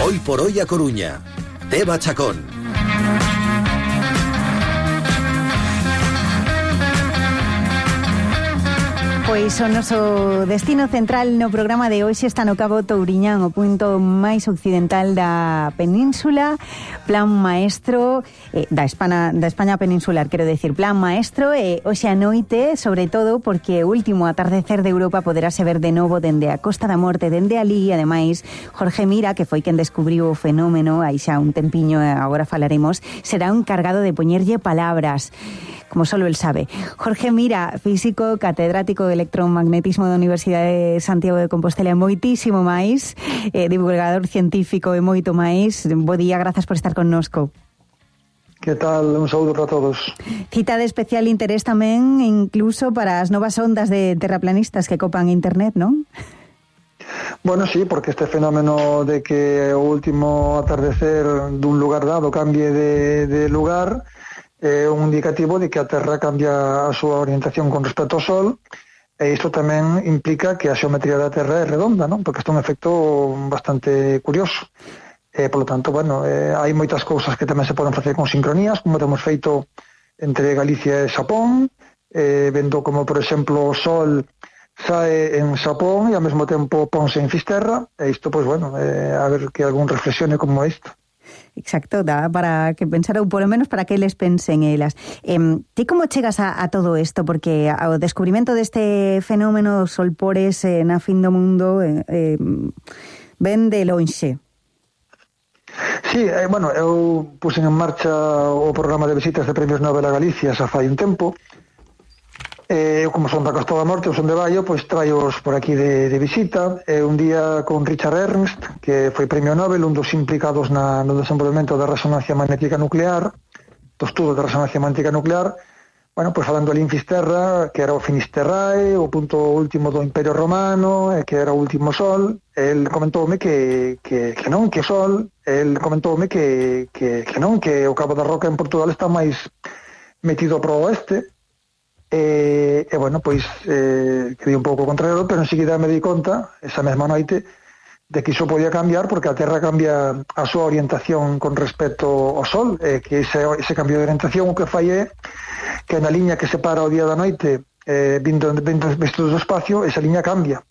Hoy por hoy a Coruña. Teba Chacón. Pois o noso destino central no programa de hoxe está no Cabo Touriñán, o punto máis occidental da península. Plan maestro da España peninsular, quero decir, plan maestro, hoxe a noite, sobre todo porque o último atardecer de Europa poderase ver de novo dende a Costa da Morte, dende alí. Ademais, Jorge Mira, que foi quen descubriu o fenómeno aí xa un tempiño, agora falaremos, será un cargado de poñerlle palabras, como solo el sabe. Jorge Mira, físico, catedrático de electromagnetismo da Universidade de Santiago de Compostela, moitísimo máis, divulgador científico e moito máis. Bo día, grazas por estar connosco. Que tal? Un saúdo para todos. Cita de especial interés tamén, incluso para as novas ondas de terraplanistas que copan internet, non? Bueno, sí, porque este fenómeno de que o último atardecer dun lugar dado cambie de lugar é un indicativo de que a Terra cambia a súa orientación con respecto ao Sol, e isto tamén implica que a xeometría da Terra é redonda, non? Porque isto é un efecto bastante curioso. Por lo tanto, bueno, hai moitas cousas que tamén se poden facer con sincronías, como temos feito entre Galicia e Xapón, vendo como, por exemplo, o Sol sae en Xapón e ao mesmo tempo ponse en Fisterra, e isto, pois, bueno, a ver que algún reflexione como isto. Exacto, dá para que pensar, ou polo menos para que eles pensen elas. Ti como chegas a todo isto? Porque ao descubrimento deste fenómeno dos solpores na fin do mundo ven de lonxe. Sí, bueno, eu puxen en marcha o programa de visitas de Premios Nobel a Galicia xa fai un tempo. Eu, como son da Costa da Morte, eu son de Baio, pois traioos por aquí de visita. Un día con Richard Ernst, que foi premio Nobel, un dos implicados no desenvolvemento da resonancia magnética nuclear, do estudo da resonancia magnética nuclear. Bueno, pois falando ali en Fisterra, que era o Finisterrae, o punto último do Imperio Romano, que era o último Sol. El comentoume que non, que o Sol, el comentoume que non, que o Cabo da Roca en Portugal está máis metido pro oeste. E bueno, pois quedei un pouco contrario, pero enseguida me di conta, esa mesma noite, de que iso podía cambiar porque a Terra cambia a súa orientación con respecto ao Sol, que ese cambio de orientación o que fai é que na liña que separa o día da noite vindo do espacio, esa liña cambia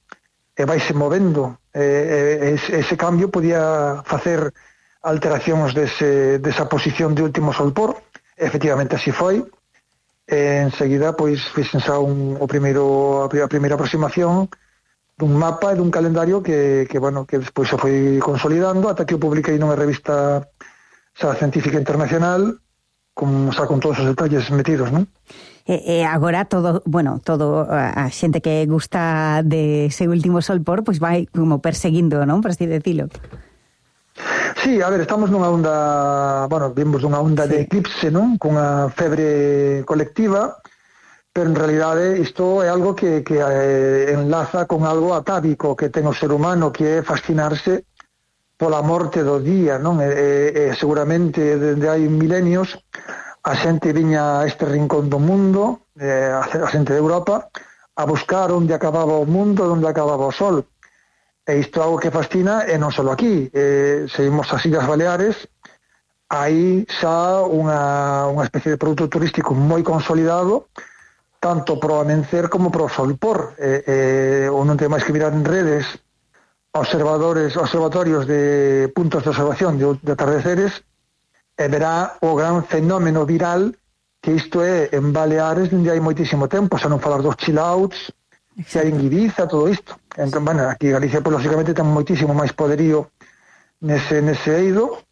e vaise movendo, ese cambio podía facer alteracións desa posición de último solpor. Efectivamente así foi. Enseguida pois fixen xa a primeira aproximación dun mapa e dun calendario que despois se foi consolidando ata que o publiquei nunha revista xa científica internacional con todos os detalles metidos, non? E agora todo a xente que gusta de ese último solpor pois vai como perseguindo, non? Por así decilo. Sí, a ver, estamos nunha onda, vimos dunha onda de eclipse, non? Cunha febre colectiva, pero en realidade isto é algo que enlaza con algo atávico que ten o ser humano, que é fascinarse pola morte do día, non? Seguramente dende hai milenios a xente viña a este rincón do mundo, a xente de Europa, a buscar onde acababa o mundo, onde acababa o Sol. E isto é algo que fascina, e non só aquí. Seguimos as Illas Baleares, hai xa unha especie de produto turístico moi consolidado, tanto pro amencer como pro solpor. Non ten máis que mirar en redes observatorios de puntos de observación de atardeceres, e verá o gran fenómeno viral que isto é en Baleares dende hai moitísimo tempo, xa non falar dos chill outs, que hai en Ibiza, todo isto. Entón, aquí Galicia, pues, lógicamente, ten moitísimo máis poderío nese eido,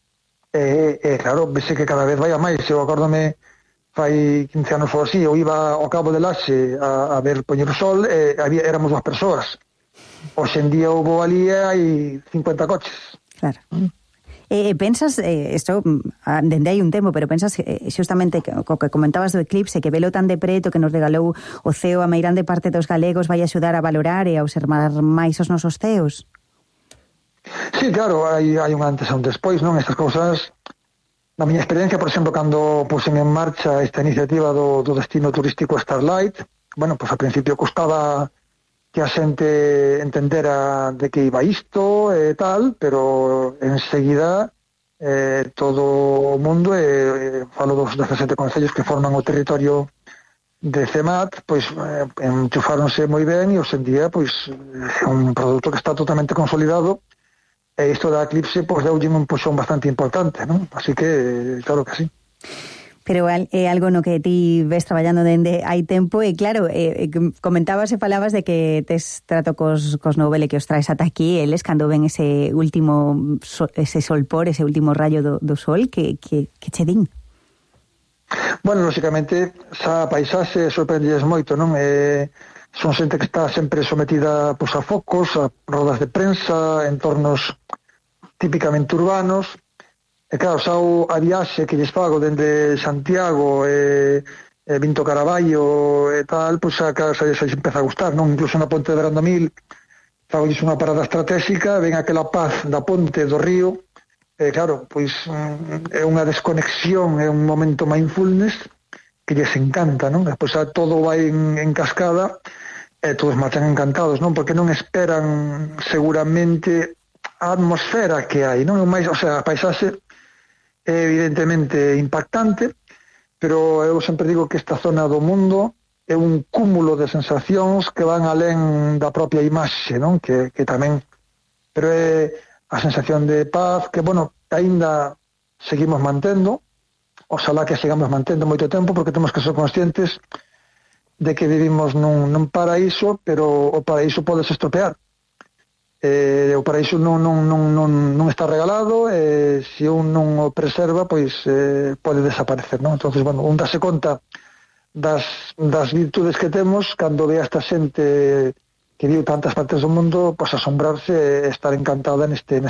claro, vese que cada vez vai a máis. Eu acórdome, fai 15 anos ou así, eu iba ao Cabo de Laxe a ver poñer o sol, éramos 2 persoas. Hoxe en día houve ali hai 50 coches. Claro. Pensas, isto dende hai un tempo, pero pensas xustamente co que comentabas do eclipse, que velo tan de preto, que nos regalou o ceo a meirande parte dos galegos, vai axudar a valorar e a observar máis os nosos ceos? Sí, claro, hai un antes e un despois, non? Estas cousas, na miña experiencia, por exemplo, cando puxen en marcha esta iniciativa do destino turístico Starlight, bueno, pois ao principio custaba que a xente entendera de que iba isto e tal, pero enseguida todo o mundo, falo dos 17 concellos que forman o territorio de CEMAT, pois enchufáronse moi ben e hoxe en día pois é un produto que está totalmente consolidado e isto da Eclipse pois deulle un puxón bastante importante, non? Así que claro que sí. Pero é algo no que ti ves traballando dende hai tempo e claro, comentabas e falabas de que tes trato cos Nobel e que os traes ata aquí, eles cando ven ese último ese solpor, ese último rayo do sol, que che din? Bueno, lógicamente, xa a paisaxe sorprendelles moito, non? Son xente que está sempre sometida pois, a focos, a rodas de prensa, entornos típicamente urbanos. E claro, xa a viaxe que lles fago dende Santiago Vinto Caraballo e tal, pois xa lles empeza a gustar, non? Incluso na Ponte de Brandamil fago unha parada estratégica, ven aquela paz da ponte do río. Claro, pois é unha desconexión, é un momento mindfulness que lles encanta, non? Pois xa todo vai en cascada e todos marchan encantados, non? Porque non esperan seguramente a atmosfera que hai, non? Mais, o sea, a paisaxe é evidentemente impactante, pero eu sempre digo que esta zona do mundo é un cúmulo de sensacións que van alén da propia imaxe, non? Que tamén, pero é a sensación de paz que, bueno, aínda seguimos mantendo, oxalá que sigamos mantendo moito tempo, porque temos que ser conscientes de que vivimos nun paraíso, pero o paraíso pode se estropear. O paraíso non está regalado, se un non o preserva, pois pode desaparecer, non? Entonces, bueno, un dase conta das virtudes que temos cando ve a esta xente que vive tantas partes do mundo, pois asombrarse e estar encantada neste